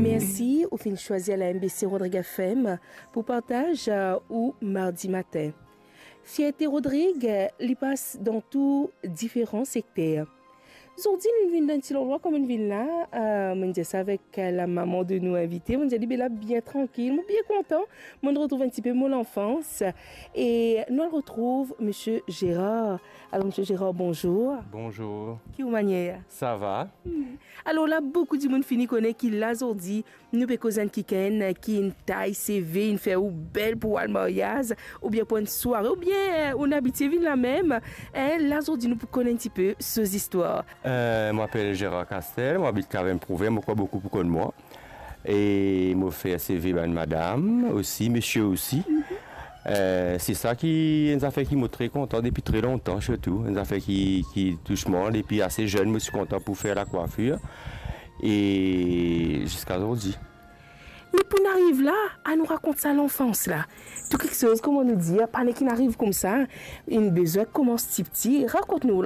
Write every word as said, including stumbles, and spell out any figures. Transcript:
Mersi, ou finn swazir la M B C Rodrigues F M pou partaz, euh, ou mardi matin. Fierte Rodrigues, li pas dan tou diferan sekter. Zordi, nou vinn dan enn ti landrwa kouma nou vinn la, euh, mo dir sa avek, euh, la maman de nou invite, mo dir li be la bien trankil, mo bien kontan, mo retrouv enn tipe mo lanfans, e nou al retrouv Misie Gérard. Alor, Misie Gérard, bonzour. Bonzour. Ki ou manier? Sa va? Hmm. Alor la, boukou dimoun fini kone ki la zordi, nou pe koz enn kikenn ki inn tay seve, inn fer ou bel pou al maryaz, oubien pou enn sware, oubien, eh, ou abitie vinn la mem, eh, la zordi nou pou konn enn tipe so zistwar. Euh, mo apel Gérard Castel, mo abit Kavem Provem, mo krwar boukou pou konn mwa. E mo fer seve bann madam osi, misie osi. Eh, se sa ki enn zafer ki mo tre kontan depi tre lontan, sirtou. Enn zafer ki, ki tous mwa depi ase zenn, mo ti kontan pou fer lakwafir. E ziska zordi. Me pou nou ariv la, anou rakont sa lanfans la. Tou kiksoz, kouma nou dir, pa nek inn ariv koumsa, inn bizin koumans tipti. Rakont nou